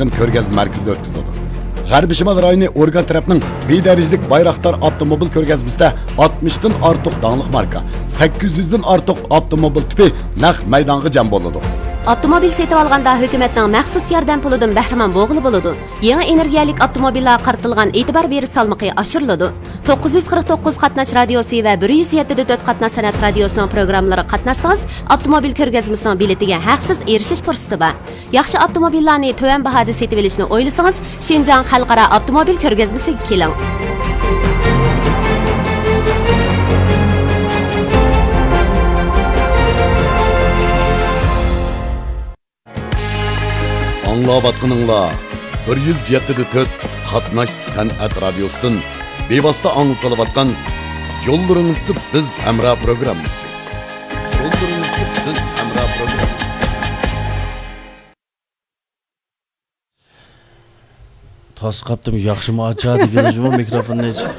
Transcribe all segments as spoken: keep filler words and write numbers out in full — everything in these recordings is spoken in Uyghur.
كۆرگەزمە مەركىزىدە ئۆتكۈزۈلىدۇ. غەربىي شىمال رايونى ئورگان تەرەپنىڭ بى دەرىجىلىك بايراقدار ئاپتوموبىل كۆرگەزمىسىدە ئاتمىشتىن ئارتۇق داڭلىق ماركا، سەككىز يۈزدىن ئارتۇق ئاپتوموبىل تىپى نەق مەيدانغا جەم بولىدۇ. ئاپتوموبىل سېتىۋالغاندا ھۆكۈمەتنىڭ مەخسۇس ياردەم پۇلىدىن بەھرىمەن بولغىلى بولىدۇ. يېڭى ئېنېرگىيەلىك ئاپتوموبىللارغا قارىتىلغان ئېتىبار بېرىش سالمىقى ئاشۇرۇلىدۇ. توققۇز يۈز قىرىق توققۇز قاتناش رادىيوسى ۋە بىر يۈز يەتتە دە تۆت قاتناش سەنئەت رادىيوسىنىڭ پروگراممىلىرىغا قاتناشسىڭىز، ئاپتوموبىل كۆرگەزمىسىنىڭ بېلىتىگە ھەقسىز ئېرىشىش پۇرسىتى بار. ياخشى ئاپتوموبىللارنى تۆۋەن باھادا سېتىۋېلىشنى ئويلىسىڭىز، شىنجاڭ خەلقئارا ئاپتوموبىل كۆرگەزمىسىگە كېلىڭ. ئاڭلاۋاتقىنىڭلار بىر يۈز يەتتە دە تۆت قاتناش سەنئەت رادىيوسىدىن بىۋاسىتە ئاڭلىتىلىۋاتقان يوللىرىڭىزدا بىز ھەمراھ پروگراممىسى. يوللىرىڭىزدا بىز ھەمراھ پروگراممىسى. تاس قاپتىم، ياخشىمۇ ئاچا دېگىنى جۇمۇ مىكروفوننى ئېچىپ.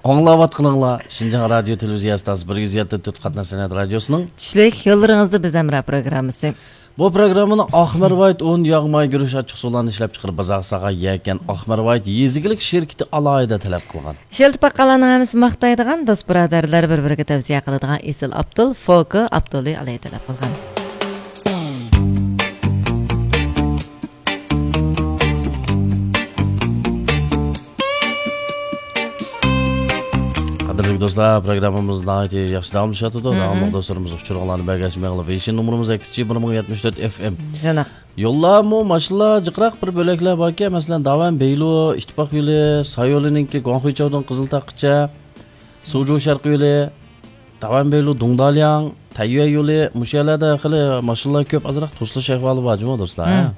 ئاڭلاۋاتقىنىڭلار شىنجاڭ رادىيو تېلېۋىزىيە ئىستانسىسى بىر يۈز يەتتە تۆت قاتناش سەنئەت رادىيوسىنىڭ چۈشلۈك يوللىرىڭىزدا بىز ھەمراھ پروگراممىسى. بۇ پروگراممىنى ئاقمەرۋايىت ئۇن، ياغ، ماي، گۈرۈچ، ئاچچىق سۇلارنى ئىشلەپچىقىرىپ، بازارغا سالغان يەكەن ئاقمەرۋايىت يېزا ئىگىلىك شىركىتى ئالاھىدە تەلەپ قىلغان. ئىشلىتىپ باققانلارنىڭ ھەممىسى ماختايدىغان، دوست بۇرادەرلەر بىر-بىرىگە تەۋسىيە قىلىدىغان ئېسىل ئاپتول فوكو ئاپتولى ئالاھىدە تەلەپ قىلغان. قەدىرلىك دوستلار، پروگراممىمىز ناھايىتى ياخشى داۋاملىشىۋاتىدۇ. مم. داۋاملىق دوستلىرىمىز ئۇچۇرۇڭلارنى بەرگەچ مېڭىڭلار. ۋېيشىن نومۇرىمىز ئەكس جى بىر مىڭ يەتمىش تۆت ئېف ئېم. جاناق. يوللارمۇ ماشىنىلار جىقراق بىر بۆلەكلەر باركەن، مەسىلەن، داۋەن بېيلۇ، ئىتتىپاق يولى، سايولىنىڭكى گۇاڭخۇيچاۋدىن قىزىلتاغقىچە، سۇجۇ شەرقىي يولى، داۋەن بېيلۇ، دۇڭدالياڭ، تەييۈەن يولى، مۇشۇ يەرلەردە خېلى ماشىنىلار كۆپ، ئازراق توسۇلۇش ئەھۋالى بار جۇمۇ دوستلار، ھە؟ مم.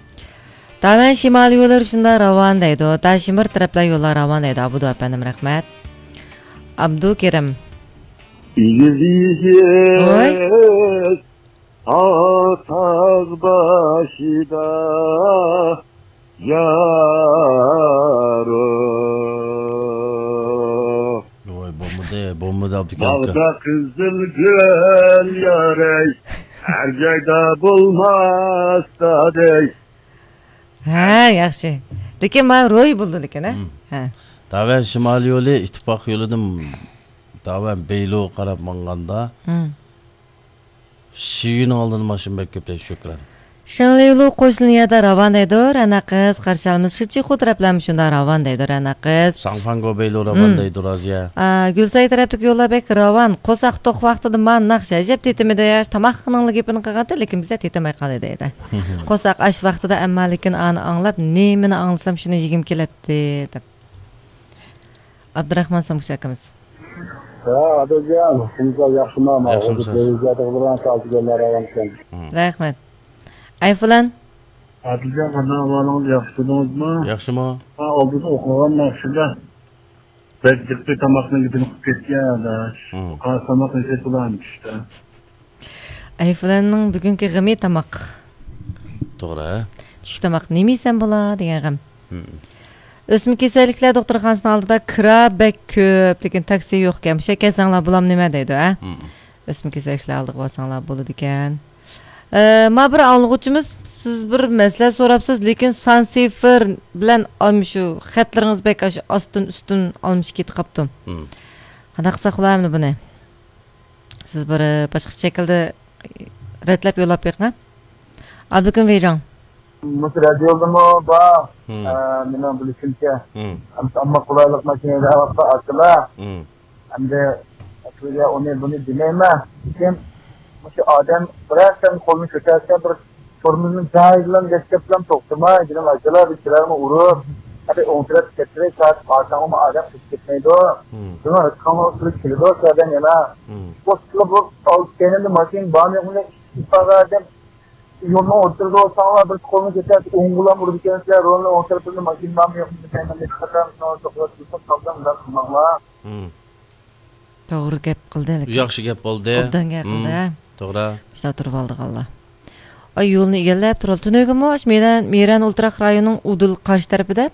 داۋەن شىمالىي يوللىرى شۇنداق راۋان دەيدۇ، داشىمىر تەرەپلەر يوللار راۋان دەيدۇ، ئابدۇ ئەپەندىم، رەھمەت. ئابدۇكېرىم. ئېگىز ۋوي. ئېگىز تاغ، تاغ باشىدا يارۇ. ۋوي، بولمىدى، بولمىدى، ئابدۇكېرىم ئاكا. باغدا قىزىل گۈل يارەي، ھەر جايدا بولماستا دەي. ھە، ياخشى. لېكىن مانا روي بولدى لېكىن، ھە؟ مم. ھە. داۋەن شىمالىي يولى ئىتتىپاق يولىدىن داۋەن بېيلۇغا قاراپ ماڭغاندا، مم. شىيۈنىڭ ئالدىدا ماشىنا بەك كۆپ دەيدۇ، شۆكرەن. شېڭلىلۇ قوشنا يەردە راۋان دەيدۇ، رەنا قىز، قارشى ئالىمىز. شىچىخۇ تەرەپلەرمۇ شۇنداق راۋان دەيدۇ، رەنا قىز. ساڭفاڭگو بېيلۇ راۋان مم. دەيدۇ، رازىيە. ئا، گۈلساي تەرەپتىكى يوللار بەك راۋان. قورساق توق ۋاقتىدا مانا ناخشا ئەجەب تېتىمىدى. تاماقنىڭلا گېپىنى قىلغانتى، لېكىن بىزە تېتىماي قالدى دەيدۇ. قورساق ئاچ ۋاقتىدا، ئەمما لېكىن ئانى ئاڭلاپ، نېمىنى ئاڭلىسام شۇنى يېگۈم كېلەتتى، دەپ. ئابدۇراخمان سومكىچى ئاكىمىز. ھە، ئادىلجان، سىزلەر ياخشىمۇ؟ ياخشىمۇسىز؟ تېلېۋىزىيەدە بىلەن تازىگەنلەر ئايانكەن. مم. رەھمەت. ئايفۇلان. ئادىلجان، قانداق ئەھۋالىڭىز؟ ياخشى تۇردىڭىزمۇ؟ ياخشىمۇ؟ ھا، ئالدىدا ئوقۇغان ناخشىدا بەك جىقتى، تاماقنىڭ گېپىنى قىلىپ كەتكەن ئاداش. مم. قارىسام، تاماق نېسى بولامدۇ ئىشتا. ئەيفۇلاننىڭ بۈگۈنكى غېمى تاماق. توغرا. چۈشلۈك تاماق نېمە يېسەم بولا دېگەن غەم. مم. ئۆسمە كېسەللىكلەر دوختۇرخانىسىنىڭ ئالدىدا كىرا بەك كۆپ، لېكىن تاكسى يوقكەن. مۇشۇ يەرگە كەلسەڭلار بولامدۇ نېمە دەيدۇ، ھە؟ مم. ئۆسمە كېسەللىكلەر ئالدىغا بارساڭلار بولىدىكەن. ئە، ما بىر ئاڭلىغۇچىمىز، سىز بىر مەسىلە سوراپسىز، لېكىن سان سىفىر بىلەن ئاشۇ خەتلىرىڭىز بەك ئاشۇ ئاستىن ئۈستۈن ئالمىشىپ كېتىپ قاپتۇ. مم. قانداق قىلساق بولار ئەمدى بۇنى؟ سىز بىر، ئە، باشقىچە شەكىلدە رەتلەپ يوللاپ بېقىڭ، ھە؟ ئابلىكىم ۋېيجاڭ. مۇشۇ رادىيودىمۇ بار. مم. ئە، مېنىڭ بىلىشىمچە. مم. ئەمدى ئامما قولايلىق ماشىنا ھەيدەۋاتقان ئاكىلار. مم. ئەمدى ئەسلىگە ئۇنى بۇنى دېمەيمەن. لېكىن مۇشۇ ئادەم بىرەر قېتىم قولىنى كۆتەرسە، بىر تورمۇزنى جايىدىلا دەسسەپلا توختىماي، جېنىم ئاكىلار، بىر كىرەرمۇ ئۇرۇپ، ھەدە ئوڭ تەرەپ كەتتىرەي، سائەت بارساڭمۇ ئادەم قېچىپ كەتمەيدۇ. مم. شۇڭا ھېچقانداق قىلىپ كېلىدۇ، شۇ ئادەم يەنە. مم. بۇ بۇ ئالدى كەينىمدە ماشىنا بارمۇ يوقمۇ، ئىشىك ئىپادە ئادەم يولنىڭ ئوتتۇرىدا بولساڭلار، بىر قولنى كۆتەرسە، ئوڭغىلا ئۇرىدىكەنسىلەر، رولنىڭ ئوڭ تەرىپىدە ماشىنا بارمۇ يوقمۇ دېمەيمەن، ھېچقاچان شۇنىڭغا توختاپ تۇرساق، قالساڭ ئۇنداق قىلماڭلار. مم. توغرا گەپ قىلدى، لېكىن. ياخشى گەپ بولدى. ئوبدان گەپ قىلدى، مم. ھە؟ توغرا. مۇشۇنداق تۇرۇۋالدىغانلار. ئاي، يولنى ئىگىلەپ تۇرۇۋالدى. تۈنۈگۈنمۇ ئاشۇ مەيدان، مەيران ئولتۇراق رايونىنىڭ ئۇدۇل قارشى تەرىپىدە،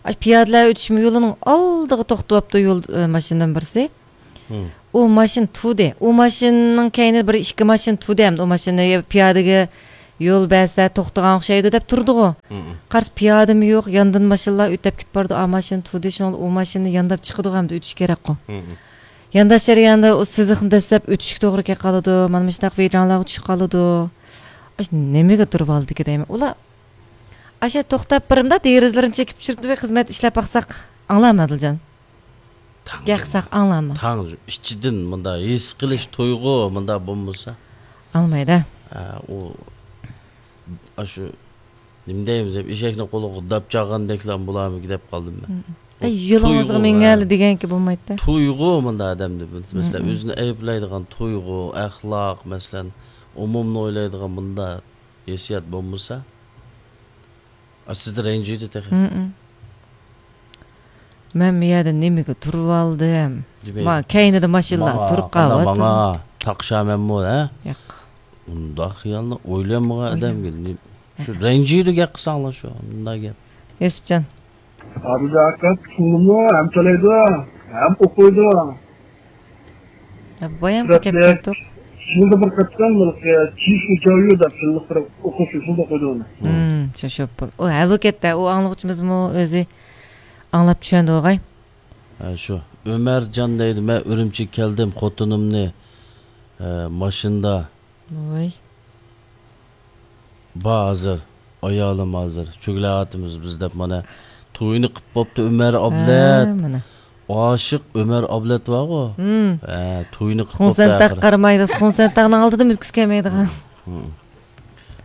ئاشۇ پىيادىلەر ئۆتۈشمە يولىنىڭ ئالدىغا توختىۋاپتۇ يول، ئە، ماشىنىدىن بىرسى. مم. ئۇ ماشىنا تۇردى. ئۇ ماشىنىنىڭ كەينىدە بىر ئىككى ماشىنا تۇردى ھەمدە ئۇ ماشىنا پىيادىگە يول بەرسە توختىغان ئوخشايدۇ دەپ تۇرىدىغۇ. مم. قارىسا پىيادىمۇ يوق، ياندىن ماشىنىلار ئۆتۈپ كېتىپ بارىدۇ، ئا ماشىنا تۇردى، شۇڭا ئۇ ماشىنا يانداپ چىقىدىغۇ ھەمدە ئۆتۈش كېرەكقۇ. مم. يانداش جەريانىدا ئۇ سىزىقنى دەسسەپ ئۆتۈشكە توغرا كېلىپ قالىدۇ، مانا مۇشۇنداق ۋىجاڭلارغا چۈشۈپ قالىدۇ. ئاشۇ نېمىگە تۇرۇۋالدىكى دەيمەن. ئۇلار ئاشۇ توختاپ بىرىمدا دېرىزىلىرىنى چېكىپ چۈشۈرۈپ خىزمەت ئىشلەپ باقساق ئاڭلارمۇ ئادىلجان؟ تاڭ. گەقساق ئاڭلارمۇ؟ تاڭ ئىچىدىن مۇندا ھېس قىلىش تۇيغۇ مۇندا بولمىسا. ئاڭلىمايدۇ. ھە، ئۇ، ئاشۇ، نېمە دەيمىز، ئېشەكنىڭ قولىغا داپ چالغاندەكلا بولارمىكىن دەپ قالدىم مەن. مم. ئۇ ئەي، يولىڭىزغا تۇيغۇ، مىڭەلە ھە. دېگەنكى بولمايدۇ. تۇيغۇ مۇندا ئادەمدە، مەسىلەن، مم. ئۆزىنى ئەيىبلەيدىغان تۇيغۇ، ئەخلاق، مەسىلەن، ئومۇمنى ئويلايدىغان مۇندا ھېسسىيات بولمىسا، ئا، سىزدە رەنجىيدۇ تېخى. مم. مەن بۇ يەردە نېمىگە تۇرۇۋالدىم؟ دېمەيدۇ. ما-، كەينىدە ماشىنىلار ماڭا، تۇرۇپ قانداق قالىۋاتىدۇ. ماڭا تاقىشامەنمۇ، ھە؟ ياق. ئۇنداق خىيالنى ئويلانمىغان ئويلانمىغان. ئادەمگە نېمە؟ شۇ رەنجىيدۇ گەپ قىلساڭلار شۇ، مۇنداق گەپ. يۈسۈپجان. ئابدۇزاكىم چۈشىنىدۇ، ھەم تىلەيدۇ، ھەم ئوقۇيدۇ. ھە، بايام سۈرەتلىك. كەپتۇق. يىلدا بىر قېتىم بىر، ئە، چىشۇ جاۋيۇ دەپ يىللىق بىر ئوقۇش يۈزىدە ئوقۇيدۇ ئۇنى. ھىم، شۇ، شۇ پۇل. ئۇ ھەلۋەتتە، ئۇ ئاڭلىغۇچىمىزمۇ ئۆزى ئاڭلاپ چۈشەندى بولغاي. ھە، شۇ. ئۆمەرجان دەيدۇ، مەن ئۈرۈمچىگە كەلدىم، خوتۇنۇمنى، ئە، ماشىنىدا ۋاي. بار ھازىر، ئايالىم ھازىر. چۆگىلەۋاتىمىز بىز دەپ مانا توينى قىپ بوپتۇ ئۆمەر ئابلەت. ھە، مانا. ئاشىق ئۆمەر ئابلەت بارغۇ. ھىم. ھە، توينى قىپ بوپتۇ خۇڭسەن تاغ ئاخىرى. قارىمايدۇ، خۇڭسەن تاغنىڭ ئالدىدىمۇ ئۆتكۈسى كەلمەيدىغان. ھىم.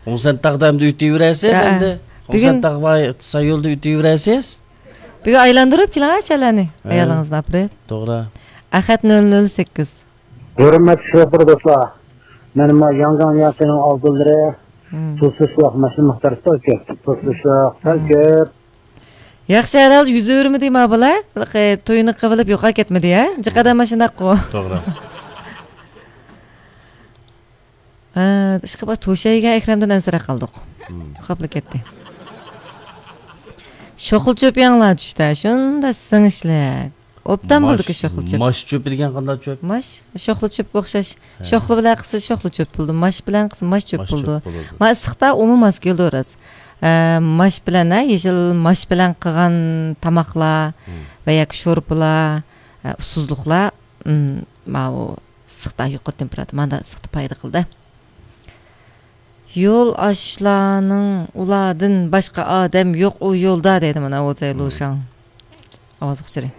خۇڭسەن تاغدا ئەمدى ئۆتۈۋېرەسىز ھە، ئەمدى. بۈگۈن خۇڭسەن تاغ بار سايولدا ئۆتۈۋېرەسىز. بۈگۈن ئايلاندۇرۇپ كېلىڭ ھە، شەلەنى. ھە. ئايالىڭىزنى ئاپىرىپ. توغرا. ئەخەت نۆل نۆل سەككىز. ھۆرمەتلىك شوپۇر دوستلار، مەن ما ياڭجاڭ ياسىنىڭ ئالدىلىرى مم. توسۇشلۇق ماشىنا مىقدارى سەل كۆپ. توسۇشلۇق سەل مم. كۆپ. ياخشى، ھەرھال يۈز ئۆرمىدى ما بالا. توينى قىلىپ يوقاپ كەتمىدى يا. جىقادا ماشىناققۇ. توغرا. ھە، ئىشقىلىپ توشايگەن ئەكرەمدىن ئەنسىرەپ قالدۇق. مم. يوقاپلا كەتتى. شوخلا چۆپ ياڭلار چۈشتە، شۇندا سىڭىشلىك. ئوبدان ماش، بولدىكى شوخلا چۆپ. ماش چۆپى دېگەن قانداق چۆپ؟ ماش، شوخلا چۆپكە ئوخشاش. ھە. شوخلا بىلەن قىلسا شوخلا چۆپ بولىدۇ. ماش بىلەن قىلسا ماش چۆپ ماش بولىدۇ. چۆپ بولىدۇ. ما ئىسسىقتا ئۇمۇ ماس كېلىدۇ راست. ئە، ماش بىلەن، ھە، يېشىل ماش بىلەن قىلغان تاماقلار ھىم. ۋە ياكى شورپىلار، ئە، ئۇسسۇزلۇقلار، ئىم، ماۋۇ ئىسسىقتا يۇقىرى تېمپېراتۇرا، ماندا ئىسسىقتا پايدا قىلدى. يول ئاشلارنىڭ ئۇلاردىن باشقا ئادەم يوق ئۇ يولدا دەيدۇ مانا ئوزەي لۇشاڭ. ئاۋاز ئۇچۇرى.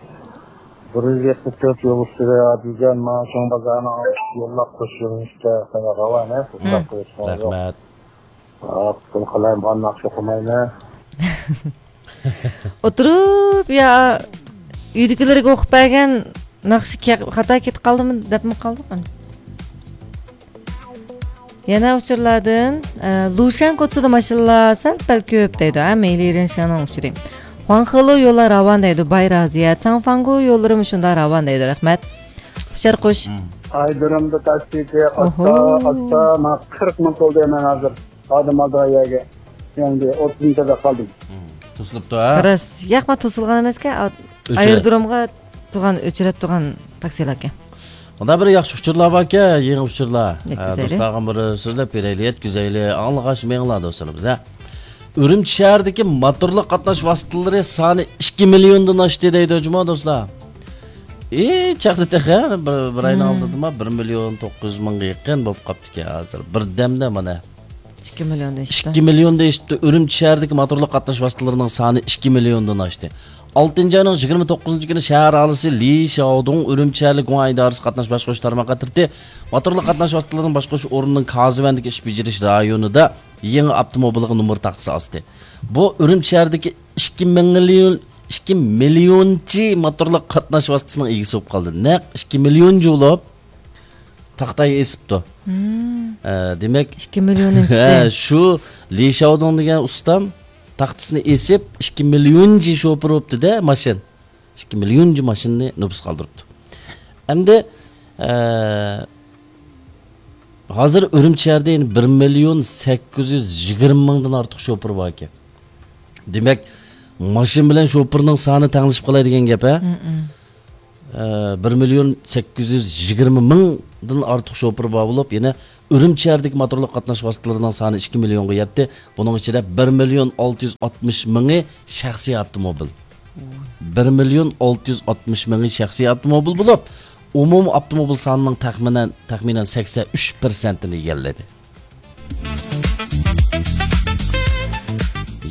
بىر يۈز يەتمىش تۆت يول ئۈستىدە ئادىلجان ماڭا چوڭ بازارنىڭ يوللاپ قوشۇلۇشتا راۋانە. مم. رەھمەت. پۇل قالايمىغان ناخشا ئوقۇمايمەن. ئولتۇرۇپ يا ئۆيدىكىلەرگە ئوقۇپ بەرگەن ناخشا كە-، خاتا كېتىپ قالدىمۇ دەپمۇ قالدۇق. يەنە ئۇچۇرلاردىن، ئە، لۇشەن كوچىسىدا ماشىنىلار سەل پەل كۆپ دەيدۇ، ھە، مېيلى رېنشانىڭ ئۇچۇرى. خۇاڭخېلۇ يوللار راۋان دەيدۇ، باي رازىيە. چاڭفاڭگۇ يوللىرىمۇ شۇنداق راۋان دەيدۇ، رەھمەت. ئۇچار قۇش. مم. ئايدىرىمدا تاكسىچى ئاستا، ئوھو. ئاستا، مانا قىرىق مىڭ تولدى مەن ھازىر. ئادەم ئالدىغان يەرگە. يەنە ئوتتۇز مىڭ تۆلەپ قالدىم. مم. توسۇلۇپتۇ، ھە؟ راست. ياقما توسۇلغان ئەمەسكەن، ئا-، ئۆچۈرە- ئايرودرومغا تۇرغان، ئۆچۈرەتتۇرغان تاكسىلاركەن. مۇندا بىر ياخشى ئۇچۇرلار باركەن، يېڭى ئۇچۇرلار. ھە، يەتكۈزەيلى. دوستلارغا بىر سۆزلەپ بېرەيلى، يەتكۈزەيلى. ئاڭلىغاچ مېڭىڭلار دوستلىرىمىز، ھە. ئۈرۈمچى شەھىرىدىكى موتورلۇق قاتناش ۋاسىتىلىرى سانى ئىككى مىليوندىن ئاشتى دەيدۇ جۇمۇ دوستلار. ئى، چاغدا تېخى بىر، بىر ئاينىڭ مم. ئالدىدىما بىر مىليون توققۇز يۈز مىڭغا يېقىن بولۇپ قاپتىكەن ھازىر. بىردەمدە مانا. ئىككى مىليوندىن ئىككى مىليوندىن ئېشىپتۇ. ئۈرۈمچى شەھىرىدىكى موتورلۇق قاتناش ۋاسىتىلىرىنىڭ سانى ئىككى مىليوندىن ئاشتى. ئالتىنچى ئاينىڭ يىگىرمە توققۇزىنچى كۈنى شەھەر ئاھالىسى لى شياۋدۇڭ ئۈرۈمچى شەھەرلىك گۇڭئەن ئىدارىسى قاتناش باشقۇرۇش تارماققا ئەترىتى موتورلۇق قاتناش ۋاسىتىلىرىنىڭ باشقۇرۇش ئورنىنىڭ كازىۋەندىكى ئىش بېجىرىش رايونىدا يېڭى ئاپتوموبىلغا نومۇر تاختىسى ئاستى. بۇ ئۈرۈمچى شەھىرىدىكى ئىككى مىليون، ئىككى مىليونچى موتورلۇق قاتناش ۋاسىتىسىنىڭ ئىگىسى بولۇپ قالدى. نەق ئىككى مىليونچى بولۇپ، تاختايى ئېسىپتۇ. مم. ئە، دېمەك، ئىككى مىليون ھە، ئىنچىسى. شۇ لى شياۋدۇڭ دېگەن ئۇستام تاختىسىنى ئېسىپ، ئىككى مىليونچى شوپۇر بوپتۇ-دە، ماشىنا. ئىككى مىليونچى ماشىنىنى نوپۇس قالدۇرۇپتۇ. ئەمدى، ئە، ھازىر ئۈرۈمچى شەھىرىدە يەنە بىر مىليون سەككىز يۈز يىگىرمە مىڭدىن ئارتۇق شوپۇر بار ئىكەن. دېمەك، ماشىنا بىلەن شوپۇرنىڭ سانى تەڭلىشىپ قالاي دېگەن گەپ، ھە؟ مم، مم. ئە، بىر مىليون سەككىز يۈز يىگىرمە مىڭ دىن ئارتۇق شوپۇر بار بولۇپ، يەنە ئۈرۈمچى شەھىرىدىكى موتورلۇق قاتناش ۋاسىتىلىرىنىڭ سانى ئىككى مىليونغا يەتتى. بۇنىڭ ئىچىدە بىر مىليون ئالتە يۈز ئاتمىش مىڭى شەخسىي ئاپتوموبىل. بىر مىليون ئالتە يۈز ئاتمىش مىڭى شەخسىي ئاپتوموبىل بولۇپ، ئومۇمىي ئاپتوموبىل سانىنىڭ تەخمىنەن، تەخمىنەن سەكسەن ئۈچ پىرسەنتىنى ئىگىلىدى.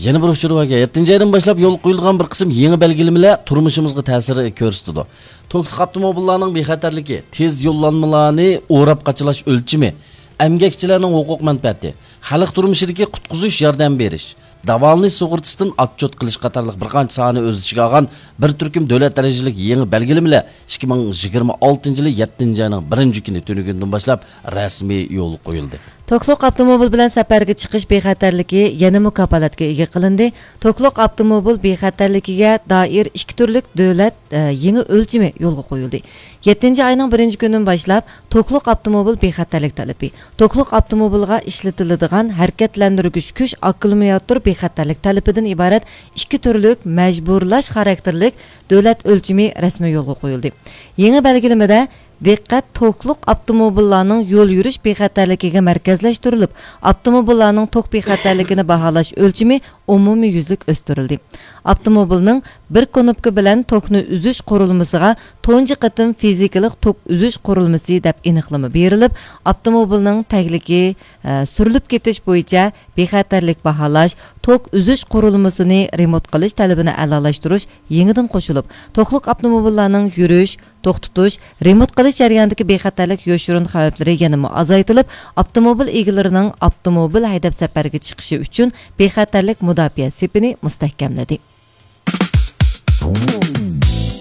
يەنە بىر ئۇچۇر باركەن. يەتتىنچى ئايدىن باشلاپ يولغا قويۇلغان بىر قىسىم يېڭى بەلگىلىمىلەر تۇرمۇشىمىزغا تەسىر كۆرسىتىدۇ. توكلۇق ئاپتوموبىللارنىڭ بىخەتەرلىكى، تېز يوللانمىلارنى ئوراپ قاچىلاش ئۆلچىمى، ئەمگەكچىلەرنىڭ ھوقۇق مەنپەئەتى، خەلق تۇرمۇشىدىكى قۇتقۇزۇش ياردەم بېرىش، داۋالىنىش سۇغۇرتىسىدىن ئوتچوت قىلىش قاتارلىق بىر قانچە ساھەنى ئۆز ئىچىگە ئالغان بىر تۈركۈم دۆلەت دەرىجىلىك يېڭى بەلگىلىمىلەر ئىككى مىڭ يىگىرمە ئالتىنچى يىلى يەتتىنچى ئاينىڭ بىرىنچى كۈنى، تۈنۈگۈندىن باشلاپ رەسمىي يولغا قويۇلدى. توكلۇق ئاپتوموبىل بىلەن سەپەرگە چىقىش بىخەتەرلىكى يەنىمۇ كاپالەتكە ئىگە قىلىندى. توكلۇق ئاپتوموبىل بىخەتەرلىكىگە دائىر ئىككى تۈرلۈك دۆلەت، ئە، يېڭى ئۆلچىمى يولغا قويۇلدى. يەتتىنچى ئاينىڭ بىرىنچى كۈنىدىن باشلاپ، توكلۇق ئاپتوموبىل بىخەتەرلىك تەلىپى، توكلۇق ئاپتوموبىلغا ئىشلىتىلىدىغان ھەرىكەتلەندۈرگۈچ كۈچ ئاككۇمۇلياتور بىخەتەرلىك تەلىپىدىن ئىبارەت ئىككى تۈرلۈك مەجبۇرلاش خاراكتېرلىك دۆلەت ئۆلچىمى رەسمىي يولغا قويۇلدى. يېڭى بەلگىلىمىدە، دىققەت توكلۇق ئاپتوموبىللارنىڭ يول يۈرۈش بىخەتەرلىكىگە مەركەزلەشتۈرۈلۈپ، ئاپتوموبىللارنىڭ توك بىخەتەرلىكىنى باھالاش ئۆلچىمى ئومۇميۈزلۈك ئۆستۈرۈلدى. ئاپتوموبىلنىڭ بىر كۇنۇپكا بىلەن توكنى ئۈزۈش قۇرۇلمىسىغا تۇنجى قېتىم فىزىكىلىق توك ئۈزۈش قۇرۇلمىسى دەپ ئېنىقلىما بېرىلىپ، ئاپتوموبىلنىڭ تەگلىكى، ئە، سۈرۈلۈپ كېتىش بويىچە بىخەتەرلىك باھالاش، توك ئۈزۈش قۇرۇلمىسىنى رېمونت قىلىش تەلىپىنى ئەلالاشتۇرۇش يېڭىدىن قوشۇلۇپ، توكلۇق ئاپتوموبىللارنىڭ يۈرۈش، توختىتىش، رېمونت قىلىش جەريانىدىكى بىخەتەرلىك يوشۇرۇن خەۋپلىرى يەنىمۇ ئازايتىلىپ، ئاپتوموبىل ئىگىلىرىنىڭ ئاپتوموبىل ھەيدەپ سەپەرگە چىقىشى ئۈچۈن بىخەتەرلىك مۇداپىئە سېپىنى مۇستەھكەملىدى.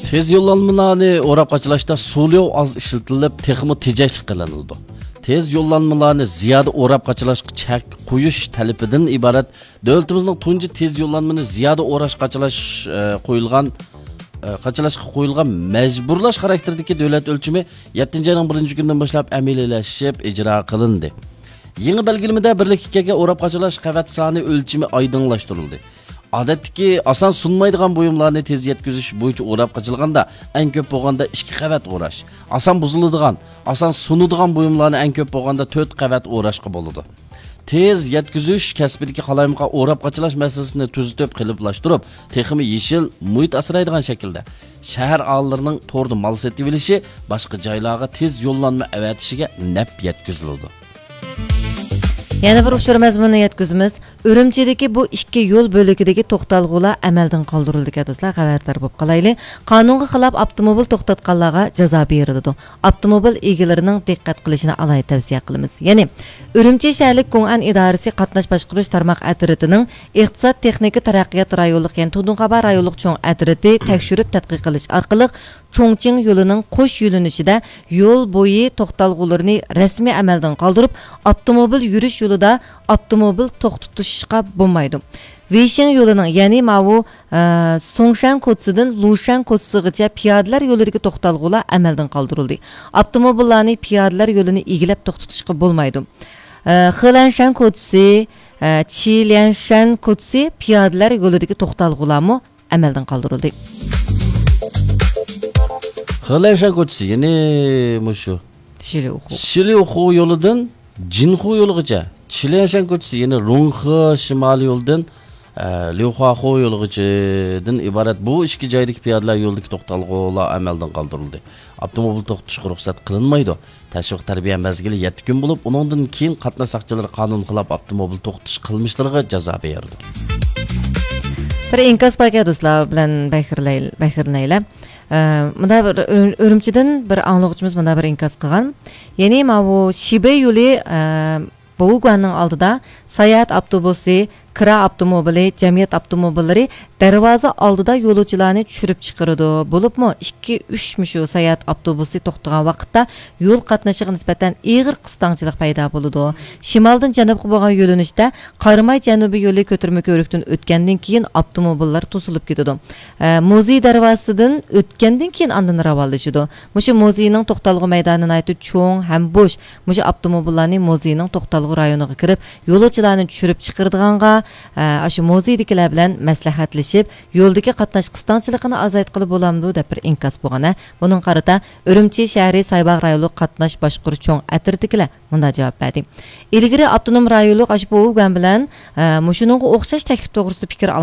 تېز يوللانمىلارنى ئوراپ قاچىلاشتا سۇليو ئاز ئىشلىتىلىپ، تېخىمۇ تېجەشلىك قىلىنىدۇ. تېز يوللانمىلارنى زىيادە ئوراپ قاچىلاشقا چەك قويۇش تەلىپىدىن ئىبارەت دۆلىتىمىزنىڭ تۇنجى تېز يوللانمىنى زىيادە ئوراش قاچىلاش، ئە، قويۇلغان، ئە، قاچىلاشقا قويۇلغان مەجبۇرلاش خاراكتېرىدىكى دۆلەت ئۆلچىمى يەتتىنچى ئاينىڭ بىرىنچى كۈنىدىن باشلاپ ئەمەلىيلەشىپ ئىجرا قىلىندى. يېڭى بەلگىلىمىدە بىرلىككە كەلگەن ئوراپ قاچىلاش قەۋەت سانى ئۆلچىمى ئايدىڭلاشتۇرۇلدى. ئادەتتىكى ئاسان سۇنمايدىغان بۇيۇملارنى تېز يەتكۈزۈش بويىچە ئوراپ قاچىلىغاندا، ئەڭ كۆپ بولغاندا ئىككى قەۋەت ئوراش، ئاسان بۇزۇلىدىغان، ئاسان سۇنىدىغان بۇيۇملارنى ئەڭ كۆپ بولغاندا تۆت قەۋەت ئوراشقا بولىدۇ. تېز يەتكۈزۈش كەسپىدىكى قالايمىقان ئوراپ قاچىلاش مەسىلىسىنى تۈزىتىپ، قېلىپلاشتۇرۇپ، تېخىمۇ يېشىل، مۇھىت ئاسرايدىغان شەكىلدە شەھەر ئاھالىلىرىنىڭ توردا مال سېتىۋېلىشى، باشقا جايلارغا تېز يوللانما ئەۋەتىشىگە نەپ يەتكۈزۈلىدۇ. يەنە بىر ئۇچۇر مەزمۇنىنى يەتكۈزىمىز. ئۈرۈمچىدىكى بۇ ئىككى يول بۆلىكىدىكى توختالغۇلار ئەمەلدىن قالدۇرۇلىدىكەن، دوستلار، خەۋەردار بولۇپ قالايلى. قانۇنغا خىلاپ ئاپتوموبىل توختاتقانلارغا جازا بېرىلىدۇ. ئاپتوموبىل ئىگىلىرىنىڭ دىققەت قىلىشىنى ئالاھىدە تەۋسىيە قىلىمىز. يەنى، ئۈرۈمچى شەھەرلىك گوڭئەن ئىدارىسى قاتناش باشقۇرۇش تارماق ئەترىتىنىڭ ئىقتىساد تېخنىكا تەرەققىيات رايونلۇق، يەنى تۇڭدۇڭخابا رايونلۇق چوڭ ئەترىتى تەكشۈرۈپ تەتقىق قىلىش ئارقىلىق، چوڭچىڭ يولىنىڭ قوش يۆنىلىشىدە يول بويى توختالغۇلىرىنى رەسمىي ئەمەلدىن قالدۇرۇپ، ئاپتوموبىل يۈرۈش يولىدا ئاپتوموبىل توختىتىشقا بولمايدۇ. ۋېيشىڭ يولىنىڭ، يەنى ماۋۇ، ئە، سۇڭشەن كوچىسىدىن لۇشەن كوچىسىغىچە پىيادىلەر يولىدىكى توختالغۇلار ئەمەلدىن قالدۇرۇلدى. ئاپتوموبىللارنى پىيادىلەر يولىنى ئىگىلەپ توختىتىشقا بولمايدۇ. ئە، خېلەنشەن كوچىسى، ئە، چىليەنشەن كوچىسى پىيادىلەر يولىدىكى توختالغۇلارمۇ ئەمەلدىن قالدۇرۇلدى. خېلەنشەن كوچىسى، يەنى مۇشۇ شىليۇخۇ. شىليۇخۇ يولىدىن جىنخۇ يولىغىچە، چىليەنشەن كوچىسى، يەنى رۇڭخې شىمالىي يولىدىن، ئە، ليۇخۇاخۇ يولىغىچىدىن ئىبارەت بۇ ئىككى جايدىكى پىيادىلەر يولىدىكى توختالغۇلار ئەمەلدىن قالدۇرۇلدى. ئاپتوموبىل توختىتىشقا رۇخسەت قىلىنمايدۇ. تەشۋىق تەربىيە مەزگىلى يەتتە كۈن بولۇپ، ئۇنىڭدىن كېيىن قاتناش ساقچىلىرى قانۇن خىلاپ ئاپتوموبىل توختىتىش قىلمىشلىرىغا جازا بېرىدۇ. بىر ئىنكاس باركەن، دوستلار بىلەن بەھرىلەي-، بەھرىلىنەيلى. ئە، مۇندا بىر ئۈر-، ئۈرۈمچىدىن بىر ئاڭلىغۇچىمىز مۇندا بىر ئىنكاس قىلغان. يەنى ماۋۇ شىبې يولى، ئە، بوۋۇگۇەننىڭ ئالدىدا ساياھەت ئاپتوبۇسى، كىرا ئاپتوموبىلى، جەمئىيەت ئاپتوموبىللىرى دەرۋازا ئالدىدا يولۇچىلارنى چۈشۈرۈپ چىقىرىدۇ. بولۇپمۇ ئىككى، ئۈچ مۇشۇ ساياھەت ئاپتوبۇسى توختىغان ۋاقىتتا يول قاتنىشىغا نىسبەتەن ئېغىر قىستاڭچىلىق پەيدا بولىدۇ. شىمالدىن جەنۇبقا بولغان يۆنىلىشتە قاراماي جەنۇبىي يولى كۆتۈرمە كۆۋرۈكتىن ئۆتكەندىن كېيىن ئاپتوموبىللار توسۇلۇپ كېتىدۇ. ئە، مۇزېي دەرۋازىسىدىن ئۆتكەندىن كېيىن ئاندىن راۋانلىشىدۇ. مۇشۇ مۇزېينىڭ توختالغۇ مەيدانى ناھايىتى چوڭ ھەم بوش. مۇشۇ ئاپتوموبىللارنى مۇزېينىڭ توختالغۇ رايونىغا كىرىپ، يولۇچىلارنى چۈشۈرۈپ چىقىرىدىغانغا، ئە، ئاشۇ مۇزېيدىكىلەر بىلەن مەسلىھەتلىشىپ، يولدىكى قاتناش قىستاڭچىلىقىنى ئازايتقىلى بولامدۇ دەپ بىر ئىنكاس بولغان. ھە، بۇنىڭغا قارىتا ئۈرۈمچى شەھىرى سايباغ رايونلۇق قاتناش باشقۇرۇش چوڭ ئەترىتىدىكىلەر مۇنداق جاۋاب بەردى. ئىلگىرى ئاپتونوم رايونلۇق ئاشۇ بوۋۇگۈەن بىلەن، ئە، مۇشۇنىڭغا ئوخشاش تەكلىپ توغرىسىدا پىكىر